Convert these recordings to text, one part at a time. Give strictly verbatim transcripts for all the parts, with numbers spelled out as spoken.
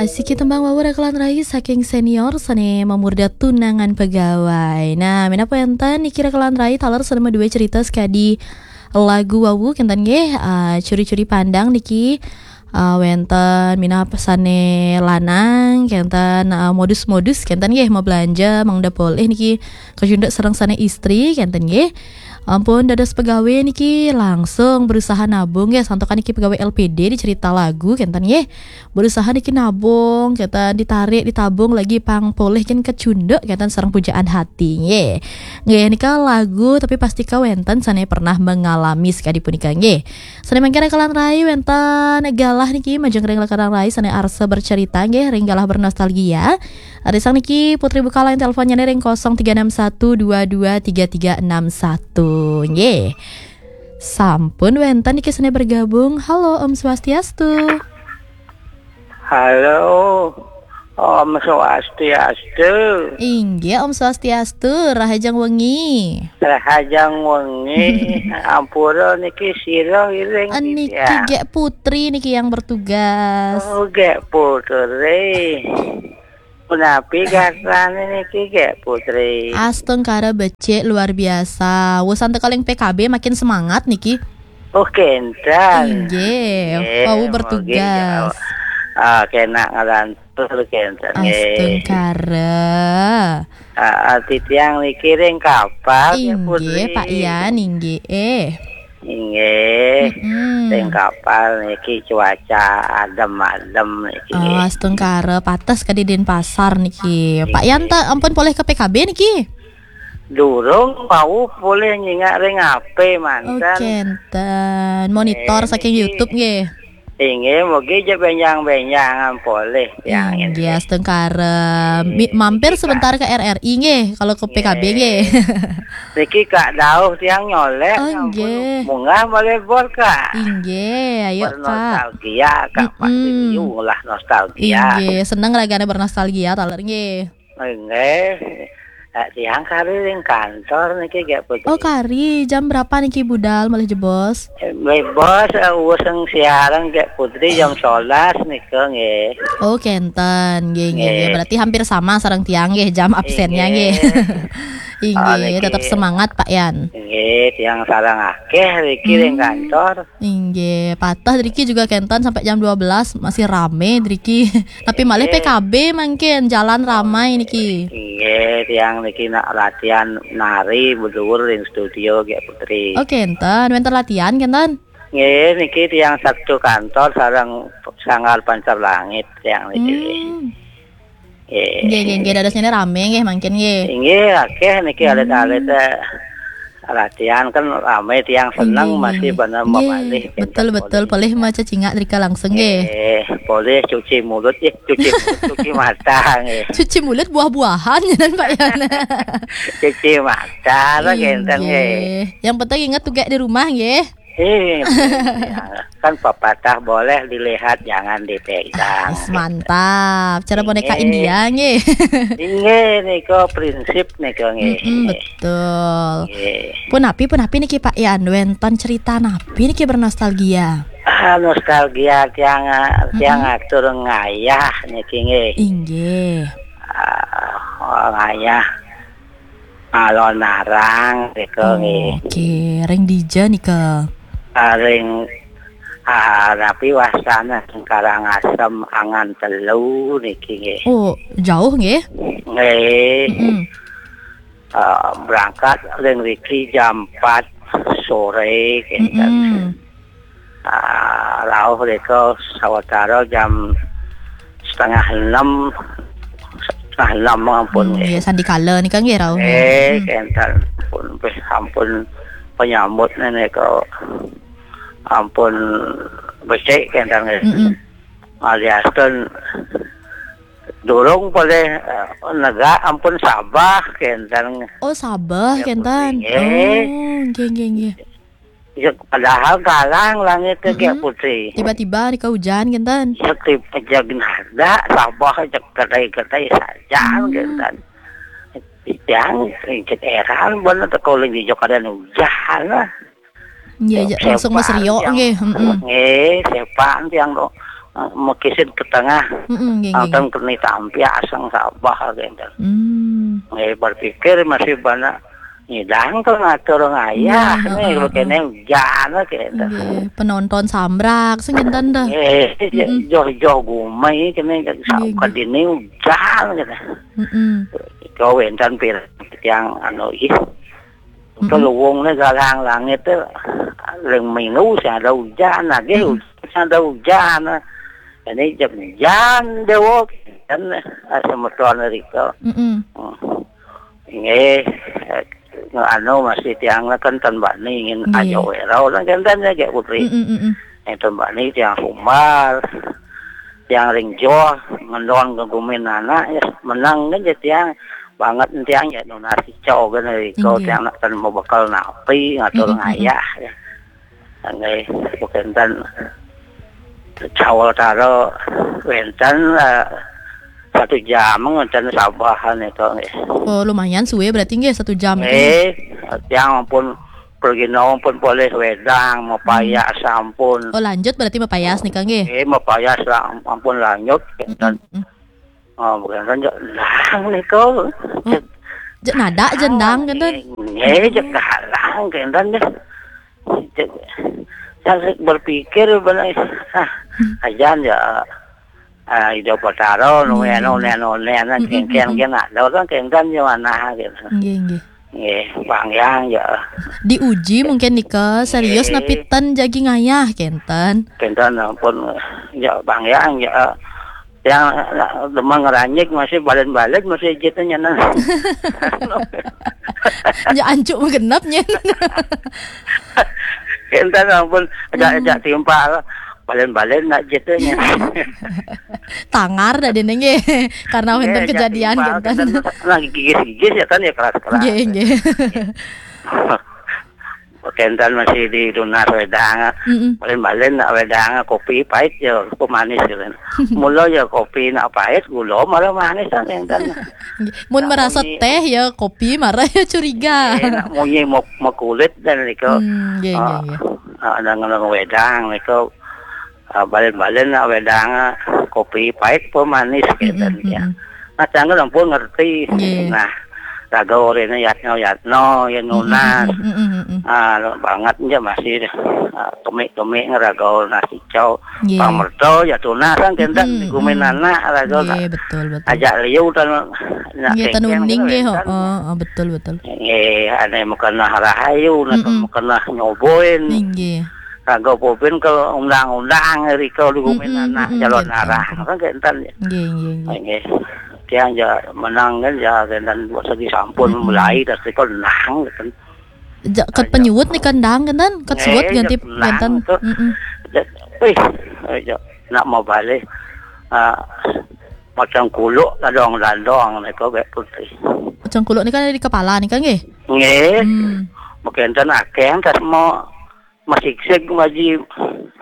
Asiki tembang wau rekelan rai saking senior sane mamurda tunangan pegawai. Nah, minangka wenten niki rekelan rai taler sane madue cerita sakadi lagu wau kenten nggih, ah, curi-curi pandang niki, ah, wenten minangka sane lanang kenten, ah, modus-modus kenten nggih mabelanja mangda polih niki kacunduk sareng sane istri kenten nggih. Ampun dados pegawai niki langsung berusaha nabung nggih, santukan niki pegawai L P D di cerita lagu kenten nggih. Berusaha niki nabung, kenten ditarik, ditabung lagi pang polih ken kacunduk kenten sareng pujaan hati nggih. Nggih, nika lagu tapi pastika wenten sane pernah mengalami sakadi punika nggih. Sane mangkin rekelan rai wenten galah niki majeng ring rekelan rai sane arsa bercerita nggih, ring galah bernostalgia. Arisang niki Putri buka line teleponnya nih ring kosong tiga enam satu dua dua tiga tiga enam satu nggih. Sampun wenten niki sane bergabung. Halo, Om Swastiastu. Halo, Om Swastiastu. Inggih, Om Swastiastu, rahajeng wengi. Rahajeng wengi. Ampura niki sira iring niki titiang? Gek Putri niki yang bertugas. Oh, Gek Putri. Punapi gatrane niki, Gek Putri? Astungkara becik luar biasa. Wus antuk kaling P K B makin semangat niki. Oh, kenten. Inggih, wau bertugas. Ah, kena ngelantur kenten nggih. Astungkara. Ah, ah, titiang niki ring kapal, Gek Putri. Inggih, Pak Yan, inggih. Eh. Inggih. Mm-mm. Ring kapal niki cuaca adem-adem niki. Oh, astungkara, pates kadi Denpasar niki. Pak Yan, inggih, ta ampun polih ke P K B niki? Durung, wau polih nyingak ring H P manten. Oh, kenten. Monitor saking YouTube nggih. Inggih, mugi ja benjang-benjangan polih tiang. Inggih, astungkara. Mampir sebentar ke R R I nggih, kalau ke P K B nggih. Niki Kak Dauh tiang nyolek. Oh, nggih. Munggah malih bor, Kak. Inggih, ayo, Kak. Bernostalgia, Kak. Mm-mm. Masih liu lah nostalgia. Inggih, seneng ragane bernostalgia taler nggih. Nggih. Eh, tiang kari ring kantor niki, Gek Putri. Oh, kari. Jam berapa niki budal malih jebos? Eh, jebos, eh, wus ring siareng, Gek Putri, jam sebelas nika nggih. Oh, kenten. Nggih, nggih, nggih. Nggih. Berarti hampir sama sareng tiang nggih jam absennya nggih. Inggih. Inggih, tetap semangat, Pak Yan. Nggih, tiang sareng akeh riki ring kantor. Inggih, patah driki juga kenten sampai jam dua belas masih rame driki. Tapi malih P K B mangkin jalan ramai niki. Inggih, tiang niki nak latihan nari beduur ring studio, Gek Putri. Oh, kenten, wenten latihan kenten? Nggih, niki tiang Sabtu kantor sareng Sanggar Pancar Langit tiang niki. Hmm. Nggih. Nggih, nggih, nggih, dadosnya rame nggih mangkin nggih. Inggih, akeh niki alit-alit, eh, latihan kan rame tiang seneng. Nggih, nggih, masih nggih. Bener. Nggih, mamalih betul, betul. Polih maca cingak drika langsung nggih. Nggih, polih cuci mulut, eh, cuci mulut, cuci mata nggih. Cuci mulut buah-buahan, ya kan, Pak Yan? Cuci mata lah kenten nggih. Nggih. Yang penting ingat tugas di rumah nggih. Eh, kan pepatah boleh dilihat, jangan dipegang. Ah, mantap. Cara boneka India nggih. Inggih, nika prinsip nika nggih. Mm-mm, betul. Nggih. Punapi, punapi niki Pak Yan, wenten cerita napi niki bernostalgia? Ah, nostalgia tiang, tiang atur ngayah niki nggih. Inggih. Ah, ngayah. Alon Arang nika nggih. Oke, ring dija nika? Ah, ring, ah, napi wastane, Karangasem Angan telu niki nggih. Oh, jauh nggih? Nggih. Mm-mm. Ah, berangkat ring riki jam empat sore kenten. Mm-mm. Ah, rauh rika sawatara jam setengah enam, setengah enam ampun nggih. Hmm, nggih, sandikala nika nggih rauh. Eh, hmm. Kenten pun, ampun penyambutnya nika ampun becik kenten nggih. Mm-mm. Aliasten durung polih, eh, negak ampun sabah kenten. Oh, sabah kenten. Nggih. Oh, nggih, nggih, nggih. Ya, padahal galang langit ke, Gek Putri. Tiba-tiba nika hujan kenten. Ya, tiba jeg nada, sabah jeg gedai-gedai sajan kenten. Tiang, jeg eran bener teka uling di jok ada hujan lah. Iya, iya, langsung meseriok nggih. Heeh. Nggih, sepan tiang to. Makisid ka tengah. Mm-mm, nggih, nggih. Angtan keni tampiasang sabeh kenten. Hmm. Nggih, berpikir masih bana nyidang ka ngatur ngayah. Nggih, nih, heeh, kene ujan kenten. Nggih, penonton sambrak sing kenten dah. Nggih, mm-mm, joh-joh gumai kene, nggih, nggih, dini ujan kenten. Mm-mm. Kau wenten pir tiang anu ih. Mm-mm. Luwungne galang langit tu, ring minggu sing ada ujan, lagi, mm-mm, ujan, sing ada ujan. Ini jam ujan dewok kan, ah, semeton rika. Mm-mm. Hmm. Nggih, eh, anu masih tiang kan tan bani ngin, nggih, aja werau lah kan tan ya, Putri. Mm-mm, mm-mm. Eh, tan bani tiang humbar, tiang ring joh, ngendon ke gumin anak ya, menang kan ya tiang, banget tiang ya nunas cau kan rika, nggih, tiang nak tan mau bekal napi ngatur, mm-mm, mm-mm, ngayah ya. Nggih, bukan tan cawal taro wenten, eh, satu jam wenten sabahan itu nggih. Oh, lumayan suwe berarti nggih, satu jam itu. Nggih, tiang ampun pergi nong pun boleh wedang, mapayas, hmm, sampun. Oh, lanjut berarti mapayas nika nggih? Nggih, mapayas lah, ampun lanjut. Mm-mm, mm. Oh, bukan kan jek lang nika. Oh, jek nada jendang kenten. Nggih, jek galang kenten deh. Jek, saya berpikir benar, ah, ajan ya, ah, Ida Betara, nu, hmm, anu, anu, anu, mm-mm, kengkeng, mm-mm, kena, dah orang kengkeng je mana gitu. Nggih, nggih. Nggih, panjang ya. Diuji mungkin nika, serius, nggih, napi ten jagi ngayah kenten. Kenten ampun ya, panjang ya. Yang, ah, demang ngeranyik masih balen-balen masih gitu nyenan. Ya ancuk menggenap nyen. Kenten ampun, ajak, hmm, ajak timpal. Balen-balen nak gitu nyen. Tangar dah dene nggih. Karena wenten, eh, ajak kejadian timpal, kenten. Kenten lagi gigis-gigis ya kan ya keras-keras. Nggih, nggih. Kenten masih di tunas wedang. Mm-mm. Balen-balen nak wedang kopi pahit ya, kopi manis gitu. Mula ya kopi nak pahit, gula malah manis kan kenten. Mun nak merasa munyi teh ya kopi, marah ya curiga. Eh, nak munyi mau, mau kulit dan nika. Hmm, nggih, nggih, ah, nggih. Ah, ada ngeleng wedang nika. Ah, balen-balen nak wedang, ah, kopi pahit apa manis, mm-mm, kenten ya. Mm-mm. Nah, tiang ampun ngerti. Nggih. Nah, raga orene yatno-yatno, ya nunas. Mm-mm, mm-mm, mm-mm. Ah, banget aja masih, ah, kemik-kemik ngeraga nasi cau. Nggih. Pamerto ya tunas kan kenten, mm-mm, di gumin, mm-mm, anak raga. Nggih, betul, betul. Ajak liu tan, nak, nggih, kengkeng tanuning gitu nggih, kan. Heeh, heeh, betul, betul. Nggih, ane makenah rahayu, nak, mm-mm, makenah nyoboin. Nggih. Kagak popin ke undang-undang rika di gumin, mm-mm, anak, mm-mm, calon, kenten, arah. Kenten. Kan kenten ya. Nggih, nggih, nggih. Nggih. Tiang ja menang kan ya, kenten buat segi sampun, mm-mm, mulai dari kau nang kan. Ja, ket, ah, ja, penyuwut nih kendang kenten, ket, eh, suwut ganti ja, nang kenten. Tuh. Mm-mm. Ja, wih, eh, ja, nak mau balik, ah, macam kuluk ladong-ladong nih kau bek putih. Macam kuluk nih kan ada di kepala nih kan nggih? Nggih. Hmm. Mungkin ten akeh tas mau masiksik maji,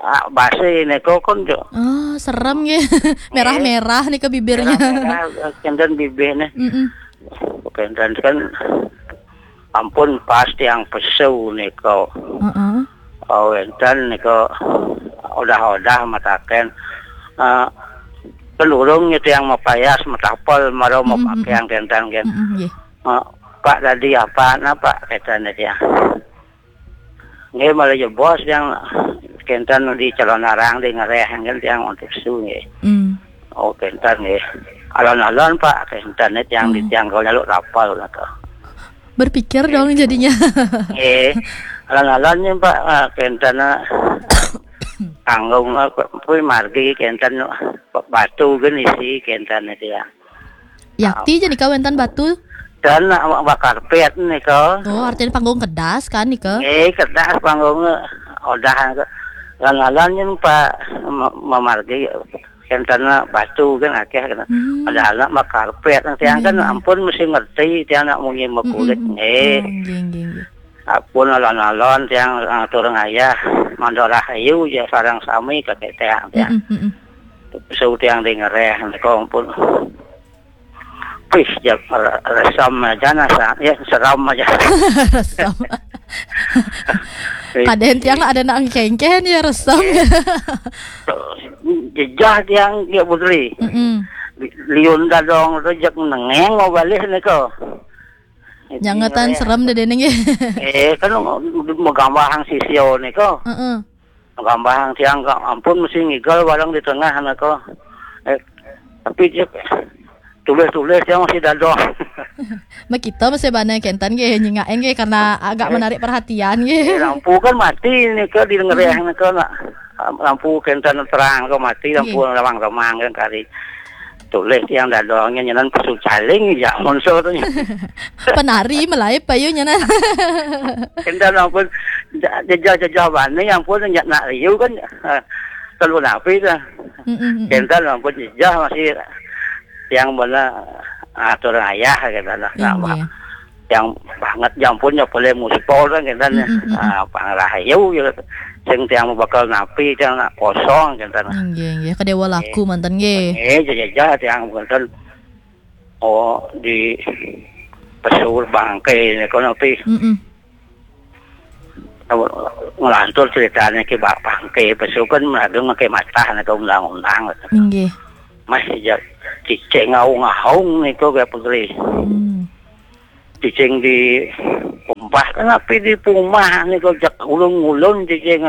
ah, base neko kon jo. Oh, serem nggih. Eh, merah-merah nih ke bibirnya. Merah-merah, eh, kenten bibirnya. Mm-mm. Kenten kan ampun pas tiang pesu neko. Heeh. Oh, enten neko udah-udah mataken. Eh, penurung itu yang mapayas, matapel, maro, mm-mm, mapakeang kenten kan. Mm-mm, nggih. Eh, Pak tadi apa, napa kenten dia? Nggih, malah ya bos yang kenten di calon arang di ngereh kan tiang untuk su nggih. Hmm. Oh, kenten nggih. Alon-alon Pak, kenten tiang di, hmm, tiang kau nyaluk rapal lah tuh. Berpikir dong jadinya. Nggih. Alon-alon nih Pak, ah, kenten, ah, tanggung, ah, kuwi margi kenten, ah, batu kan isi kenten tiang. Yakti je nika wenten batu. Dan nak bakar pet nika. Oh, artinya panggung kedas kan nika? Eh, kedas panggung odah. Lan-lan yen Pak ma-, mamargi kenten batu kan akeh kan. Hmm. Padahal nak bakar pet tiang kan, hmm, ampun mesti ngerti tiang nak munyi makulit. Hmm, hmm, hmm. Eh. Oh, nggih, nggih, nggih. Ampun alon-alon tiang, ah, turun ayah mandorah ayu ya sarang sami kakek tiang, tiang. Hmm, hmm, hmm. Su tiang di ngereh nika ampun. Wih, ya, re-, resam aja nah, sa-, ya, seram aja. Resam. Wih. Kadang tiang ada nak ngkengken ya resam. Eh. Jejah tiang, Ki Putri. Mm-mm. Li-, liun dadong tu jak nengeng mau balih nika. Nyangatan serem dah deneng ya. Eh, kan magambahang sisio nika. Heeh. Magambahang tiang ka ampun mesti ngigal barang di tengah nika. Eh, tapi dia tulis-tulis tiang masih dadong. Makita masih bana kentan ke nyingain ke karena agak menarik perhatian ke. Eh, lampu kan mati nika di ngereh nika nak. Lampu kentan terang ke mati, lampu remang-remang kan kari. Tulis tiang dadongnya nyanan pesu caling ya monso tu. Penari melai payu nyanan. Kentan ampun jejah-jejah bani ampun nyak nak riu kan. Telu napi tu. Mm-mm. Kentan ampun jejah masih tiang bana atur ayah kentan lah. Yang banget jampun nya boleh muspol kan kentan. Mm-mm. Ah, pang rahayu ya. Sing tiang bakal napi tiang nak kosong kentan. Nggih, nggih. Kedewa laku mantan nggih. Eh, jejah tiang kentan. Oh, di pesur bangke ni kono pi. Mm-mm. Ngelantur ceritanya ke bangke pesur kan meladu ngake matah ni ke undang-undang. Nggih. Masih ja cicing ngaung-ngaung ni ke putri. Hmm. Cicing di umpah kan api di pumah ni ke jak ulun-ulun cicing.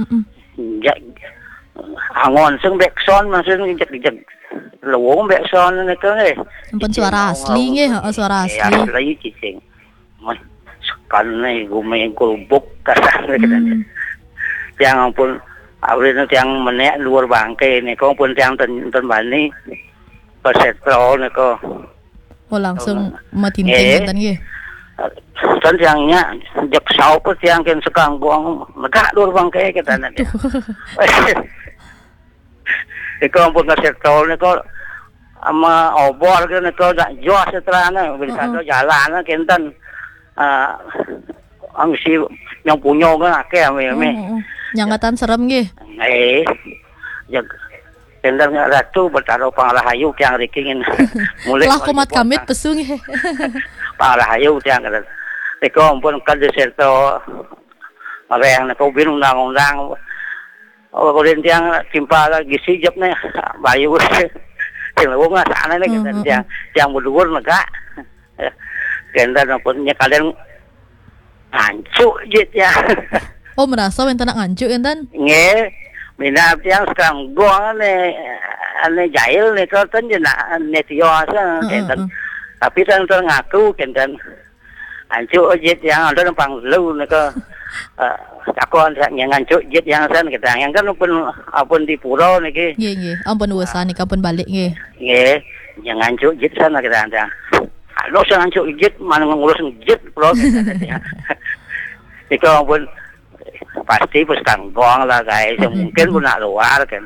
Mm-mm. Jak angon sing bekson maksudnya jak jak lewong bekson ni ke nggih. Ampun suara asli nggih, heeh, suara asli. Asli cicing. Mah, sekan ni gumeng kulbuk kasar ni. Hmm. Tiang ampun, abri ni tiang menek luar bangke ni, kong pun tiang ten, ten bani, pesetro ni ko. Oh, langsung matinting eh, ten nggih. Ten tiangnya, jek sau pe tiang ken sekanggong, negak luar bangke kita ni. Aduh. Iko ampun ka sektor niko ama obor ke niko dak jos terang bisa tu jalan kenten. Ah, ang si yang punya kan akeh ame ame. Hmm, hmm, hmm. Nyangatan serem nggih. Eh, jag kenten ratu bertaruh panglahayu kiang rikingin. Mulai lah kumat kamit pesu nggih. Panglahayu tiang kenten. Iko ampun ka di sektor. Areng niko bin undang-undang. Oh, ulin tiang timpal lagi sijep ni. Bayu. Tiang lewung lah sana ni, hmm, kenten hmm, tiang, hmm, tiang berduur negak. Kenten ampun nya kalian ngancuk je tiang. Oh, merasa wenten nak ngancuk kenten? Nggih. Mina tiang sekarang gong ni, ane jahil ni kenten je nak ni tio asa, hmm, kenten. Hmm. Tapi tan ngaku kenten. Ancuk jit yang ada numpang lu nika. Eh, takon sak nyang ancuk jit yang san kita. Yang kan pun, apun di pura niki. Nggih, nggih. Ampun urusan nika pun balik nggih. Nggih. Yang ancuk jit san kita. Kalau sang ancuk jit mana ngurus jit pura. Nika pun pasti pus kanggong lah guys. Mungkin pun nak luar kan.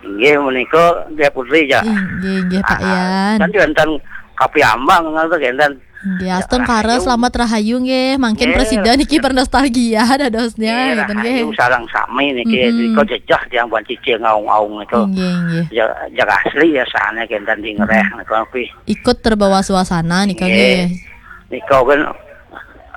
Nggih menika dia putri ya. Nggih, nggih Pak Yan. Kan wonten kapiambang ngoten kenten. Nggih, astungkara selamat rahayu nggih. Mangkin presida niki bernostalgia dadosnya ngeten nggih. Rahayu sareng sami niki. Mm-mm. Nika jejah tiang buan cicing ngaung-aung nika. Nggih, nggih. Ja-, jag asli ya sane kenten di ngereh nika kuwi. Ikut terbawa suasana nika nggih. Nika kan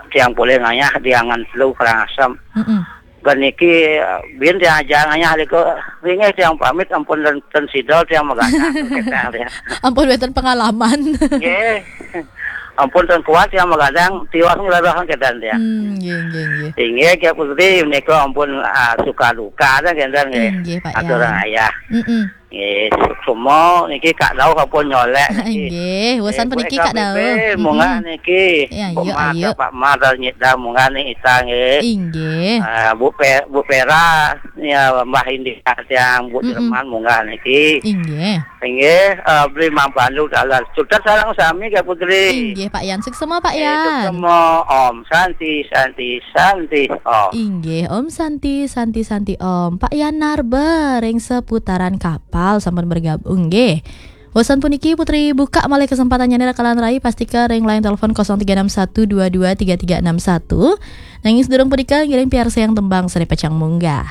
tiang boleh ngayah diangan telu Karangasem. Mm-mm. Kan niki, eh, bin tiang aja ngayah liku, ringeh tiang pamit ampun dan ten sida tiang magadang. Ampun wonten pengalaman. Nggih. Ampun ten kuat tiang magadang, tiwas nglarahan kedan tiang. Hmm, nggih, nggih, nggih. Inggih, Ki Putri, menika ampun, ah, suka duka dah kedan nggih. Inggih, Pak Yan. Aturan ayah. Mm-mm. Nggih, semua niki Kak Dau kapun nyolek niki. Nggih, urusan puniki Kak Dau. Munggah niki. Ya, ayo, ayo. Pak Mar dan Nyit Dau munggah ni ita nggih. Inggih. Ah, Bu Pe-, Bu Pera, ya Mbah India tiang, Bu Jerman munggah niki. Inggih. Inggih, ah, beli mampandu dalan. Sudah sareng sami Kak Putri. Inggih, Pak Yan. Suksema, Pak Yan. Suksema, Om Santi, Santi, Santi, Om. Inggih, Om Santi, Santi, Santi, Om. Pak Yan Narba ring seputaran kapal sampun bergabung nggih. Usan puniki Putri buka malih kesempatannya nih rakalan rai, pastika ring line telepon kosong tiga enam satu dua dua tiga tiga enam satu. Nanging sedurung punika ngiring piarsayang tembang sane pacang munggah.